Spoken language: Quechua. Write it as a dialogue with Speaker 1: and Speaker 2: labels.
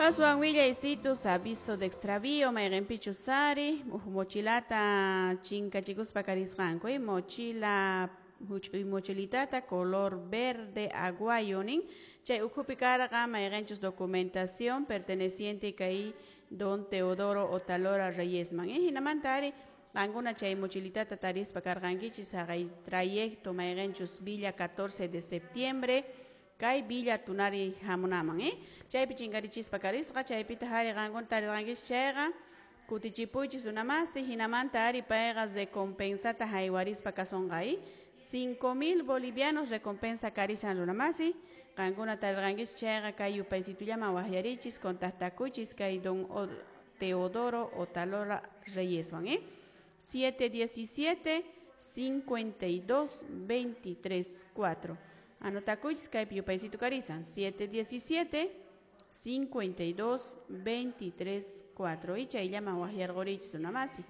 Speaker 1: Aswan willaysitus aviso de extravío mayqinpichus ari huk mochilata chinkachikuspa karisqanku, mochila huch'uy mochilitata color verde aguayo nin chay ukhupi karqa mayqinchus documentación perteneciente kay don Teodoro Otalora Reyesman, hinamanta ari qankuna chay mochilitata tarispa karqankichis haqay trayecto mayqinchus Villa 14 de septiembre kay Villa Tunari hamunaman, chaypi chinkarichispa karisqa chaypitaq ari qankuna tarirqankichis chayqa kutichipuychis runamasi hinamanta ari payqa recompensata haywarispa kasunqa, 5000 bolivianos recompensa karishan runamasi qankuna tarirqankichis chayqa kay yupaysitullaman waqyarichis contactakuychis kay don Teodoro Otalora Reyeswan, 717 52 23 4. Anotakuychis kaypi yupaysito karisan 717 52 23 4 y chayllaman waqyarqurichis runamasi.